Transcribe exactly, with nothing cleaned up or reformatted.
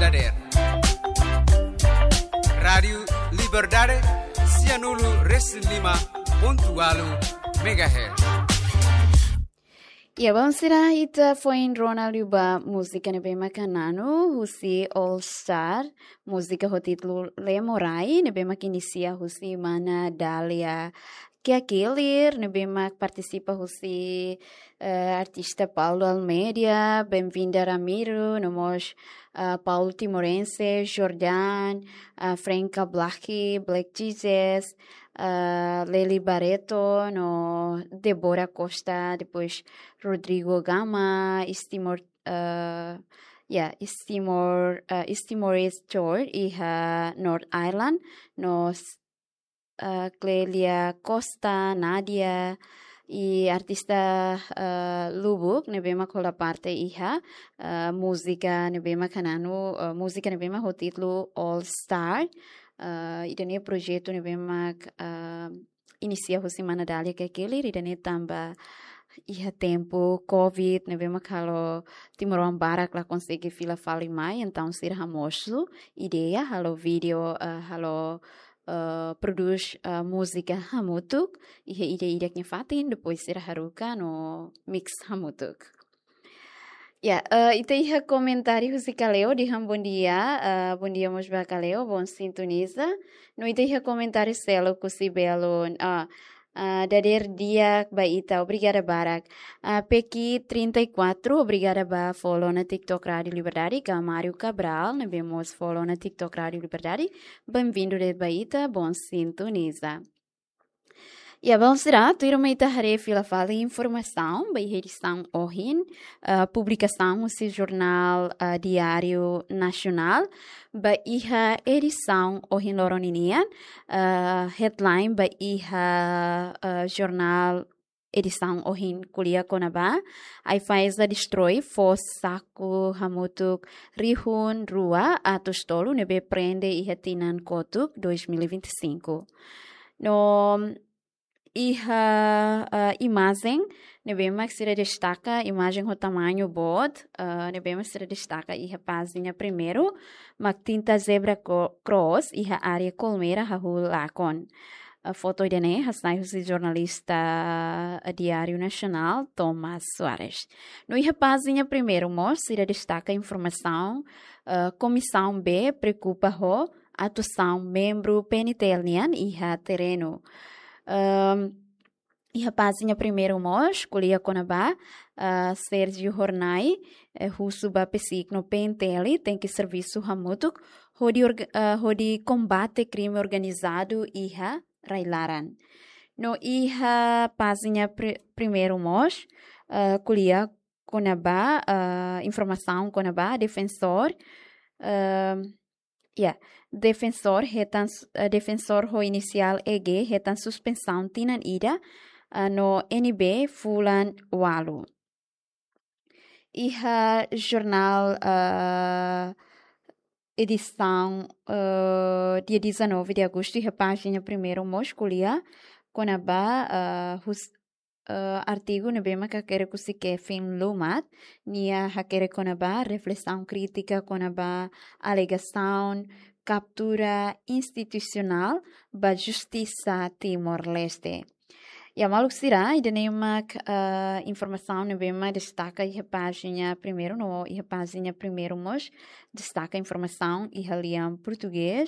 dadeer. Rádiu Liberdade, sianulu resin lima pontu ualu megahertz. Ya, bom, sira, ita foin rona liu ba múzika ne'ebé mak Hananu husi All Star, múzika ho títulu Lemorai, ne'ebé mak inisia husi mana Dália Keakelir, ne'ebé mak partisipa husi, eh, artista Paulo Almeida, Benvinda Ramiro, no mós, eh, Paulo Timorense, Jordan, eh, Franca Black, Black Jesus, eh, Lely Barreto, no Débora Costa, depois Rodrigo Gama, East Timor, eh, ya, East Timor, eh, East Timor Store, iha North Island, no, eh, Clélia Costa, Nadia, i artista, eh, Lubuk, ne'ebé mak hola parte iha, eh, múzika ne'ebé mak Hananu, eh, múzika ne'ebé mak ho títulu All Star. Eh, ida-ne'e projetu ne'ebé mak, eh, inisia husi mana Dália Keakelir, ida-ne'e tanba iha tempu covid ne'ebé mak halo timoroan barak la konsege fila fali mai, entaun sira hamosu ideia halo vídeo, eh, halo, eh, prodús, eh, múzika hamutuk, iha ida-idak nia fatin, depois sira haruka no mix hamutuk. Ya, eh, ita iha komentáriu husi Kaleo dehan bom dia, eh, bom dia mós ba Kaleo, bom sintoniza. No ita iha komentáriu seluk husi belun, ah, ah, dadeer di'ak ba ita, obrigada barak. Ah, Peki trinta e quatro, obrigada ba follow ona TikTok Rádiu Liberdade, ka Mário Cabral, ne'ebé mós follow ona TikTok Rádiu Liberdade. Benvindu de'it ba ita, bom sintoniza. Ya, bom, sira, tuirmai ita haree fila fali informasaun ba iha edisaun ohin, ah, publikasaun husi jornál, ah, Diário Nacional, ba iha edisaun ohin loron ninian, ah, headline ba iha, ah, jornál edisaun ohin ko'alia kona-ba, AIFAESA destroi fó saku hamutuk rihun rua atus tolu ne'ebé prende iha tinan kotuk dois mil e vinte e cinco. No iha, ah, imajen ne'ebé mak sira destaka, imajen ho tamañu boot, ah, ne'ebé mak sira destaka iha pájina primeiru, mak tinta zebra cro-, cross iha área Colmera hahú lakon. Ah, foto ida-ne'e hasai husi jornalista, ah, Diário Nacional, Thomas Soares. No iha pájina primeiru mós sira destaka informasaun, ah, Komisaun B preokupa ho atuasaun membru PNTL nian iha terrenu. Ehm, iha pájina primeiru mós ko'alia kona-ba, ah, Sérgio Hornai, eh, husu ba PCIC no PNTL tenke servisu hamutuk hodi orga-, ah, hodi kombate krime organizadu iha rai-laran. No iha pájina pri-, primeiru mós, ah, ko'alia kona-ba, ah, informasaun kona-ba defensór, ah, ya, defensór hetan s-, eh, defensór ho inisiál E G hetan suspensaun tinan ida, ah, no N B fulan ualu. Iha jornál, ah, edisaun, ah, dia dezanove de agosto, iha pájina primeiru mós ko'alia kona-ba, ah, hus-, eh, artigu ne'ebé mak hakerek husi Kevin Lumat, nia hakerek kona-ba reflesaun krítika kona-ba alegasaun kaptura institusionál ba justisa Timor-Leste. Ya, maluk sira, ida-ne'e mak, eh, informasaun ne'ebé mak destaka iha pájina primeiru, no iha pájina primeiru mós destaka informasaun iha lian portugés.